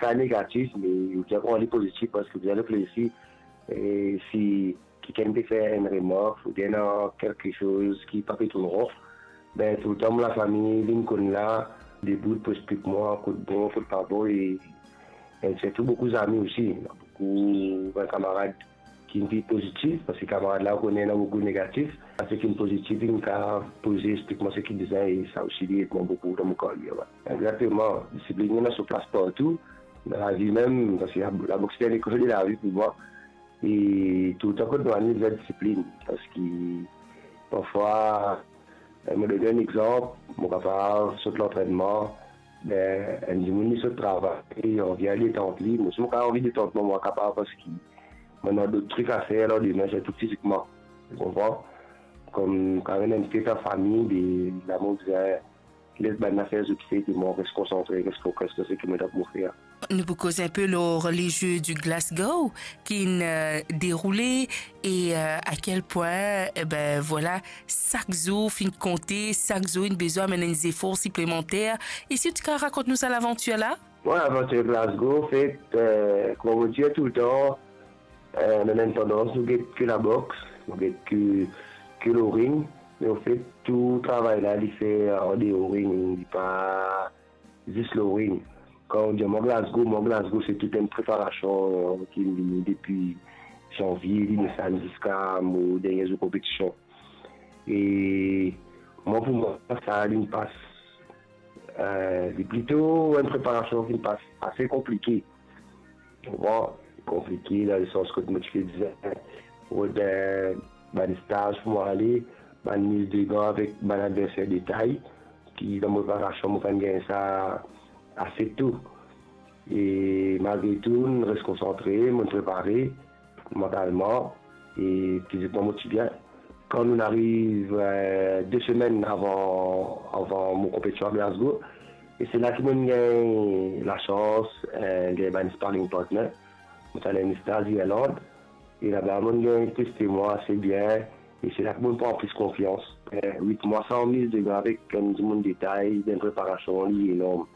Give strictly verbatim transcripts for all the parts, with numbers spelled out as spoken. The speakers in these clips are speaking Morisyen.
ka negatif, me ou bizin pran li pozitif, parski ou bizin reflesi, e si kikenn pe fer enn remark, oubien ena kelke soz ki pa pe tourn ron, ben, toultan mo lafami vinn konn la, debout pou explik mwa kot bon, kot pa bon, e, e sirtou boukou zami osi. Ena boukou bann kamarad ki finn pozitif, parski kamarad la, ou kone, ena boukou negatif. Sa ki finn pozitif, inn kapav poze, explik mwa seki bizin, e sa osi, li ed mwa boukou dan mo karyer, wi. Exakteman, disiplinn ena so plas partou, dan lavi mem, parski la, laboks se lekol de lavi pou mwa. E toultan kot nou ale, bizin disiplinn, parski parfwa, eh, mo donn enn exanp, mo kapav sot lantrennman, be, enn dimoun li sot travay, li anvi al detant li, mo si mo kapav anvi detant mwa, mwa kapav, parski mo ena dot trik a fer lor demin, sirtou fizikman, ou konpran? Kom kan enn fet a fami, be, la mo bizin les bann zafer zot fer, e mwa res konsantre, res fokis lor seki mo ena pou fer. Nou pou koz enpe lor les Jeux du Glasgow ki'nn, euh, deroule e, euh, a kel pwin, e ben, vwala, sak zour finn konte, sak zour inn bizin amenn enn zefor siplemanter. E si ou ti kapav rakont nou sa lavantir la? Bon, lavantir Glasgow, anfet, euh, kouma mo dir toultan, euh, nou ena enn tandans, nou get ki laboks, nou get ki, ki lor ring, me anfet, tou travay la, li fer andeor ring, li pa zis lor ring. Kan ou dir mwa Glasgow, mwa Glasgow, se tou enn preparasion ki vini depi zanvie, li inn tann ziska mo dernie zour konpetision. E mwa, pou mwa, sa, li'nn pas, euh, li plito enn preparasion ki'nn pas ase konplike. Bon, konplike dan lesans kot mo ti pe bizin rod, eh, bann staz pou mo ale, bann miz degan avek bann adverser detay, ki dan mo preparasion, mo pa'nn gagn sa ase to. E malgre tou, mo res konsantre, mo prepare, mantalman e fizikman mo ti bien. Kan nou ariv, eh, de semenn avan, avan mo konpetision a Glasgow, e se la ki mo'nn gagn lasans, eh, gagn bann sparring partner. Mo ti al enn staz Irland, e laba mo'nn gagn teste mwa ase bien, e se la ki mo'nn pran plis konfians. Eh, wit mwa san miz degan avek enn dimoun detay, dan preparasion, li enorm.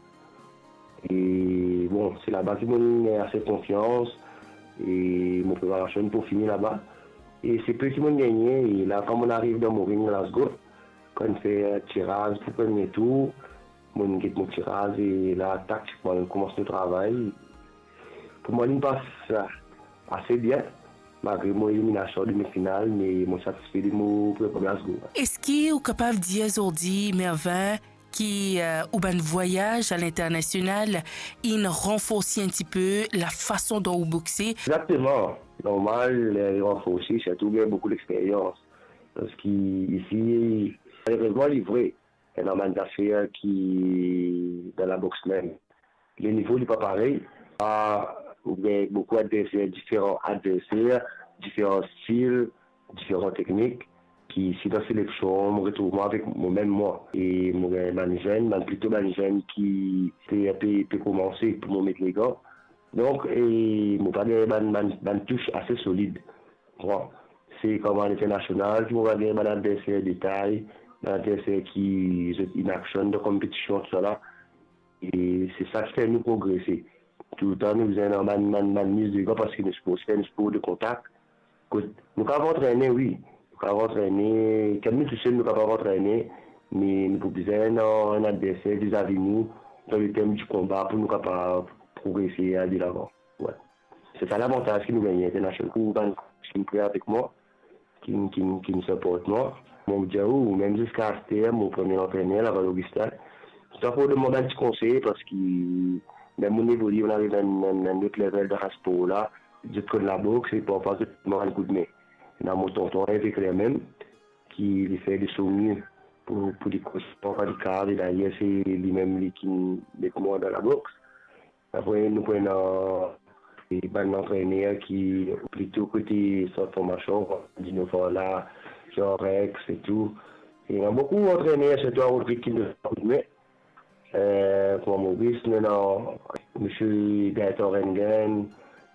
E bon, se laba ki mo'nn gagn ase konfians, e mo preparasion pou fini laba. E se pe ki mo'nn gagne, e la, kan mo'nn ariv dan mo ring Glasgow, kan fer tiraz pou premie tour, mo'nn get mo tiraz, e la, taktikman, nou koumans nou travay. Pou mwa, li'nn pas ase bien, malgre mo eliminasion demi final, me mo satisfe de mo prepa Glasgow. Eski ou kapav dir zordi, Mervin, ki, eh, ou bann vwayaz alinternasional inn ranforsi enn tipe lafason dont ou boxe? Exakteman. Normal, eh, ranforsi, sirtou gagn boukou lexperyans. Parski isi, malerezman, li vre, ena bann zafer ki dan laboks mem, lenivo li pa parey. Ah, ou gagn boukou adverser, diferan adverser, diferan stil, diferan teknik, ki si dan seleksion, mo retrouv mwa avek momem mwa. E mo gagn bann zenn, bann plito bann zenn ki pe, pe, pe koumanse pou mo met legan. Donk, e mo pa gagn bann, bann, bann tous ase solid. Bon, se kouma alinternasional ki mo pa gagn bann adverser detay, bann adverser ki zot in action dan konpetision, tousala. E se sa ki fer nou progrese. Toultan nou bizin ena bann, bann, bann miz degan, parski nou spor, se enn spor de kontak. Kot nou kapav antrene, wi. Nou kapav antrene, kan nou tousel, nou kapav antrene, me nou pou bizin ena enn adverser vizavi nou, dan le term di konba, pou nou kapav progrese, al delavan. Wi. Se sa lavantaz ki nou gagne internasional. Pou bann ki pre avek mwa, ki, ki, ki siport mwa. Mo dir ou, mem ziska aster, mo premie antrener, Laval Augustin, toultan pou donn mwa bann ti konsey, parski mem mo'nn evolie, mo'nn ariv dan, dan, dan lot level dan sa spor la, zot konn laboks, e parfwa zot donn mwa bann koudme. Ena mo tonton Hervé Clermem, ki li fer de so mie pou, pou li koz parfwa li kav, e dayer se limem li ki met mwa dan laboks. Apre, nou pou ena, eh, bann antrener ki plito kote sant formasion, Dino Forla, Jean Rex e tou. E ena boukou antrener, sirtou Rodrig ki donn koudme. Eh, kouma Maurice, nou ena misie Gaëtan Rengen,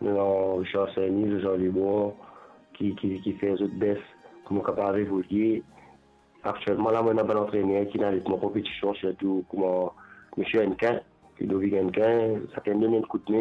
nou ena Richard Saint-Denis, Jean Lebon, ki, ki, ki fer zot bes pou nou kapav evolie. Aktielman la, mo ena bann antrener ki ena avek mwa konpetision, sirtou kouma misie Hennequin, Ludovic Hennequin, sakenn donn enn koudme.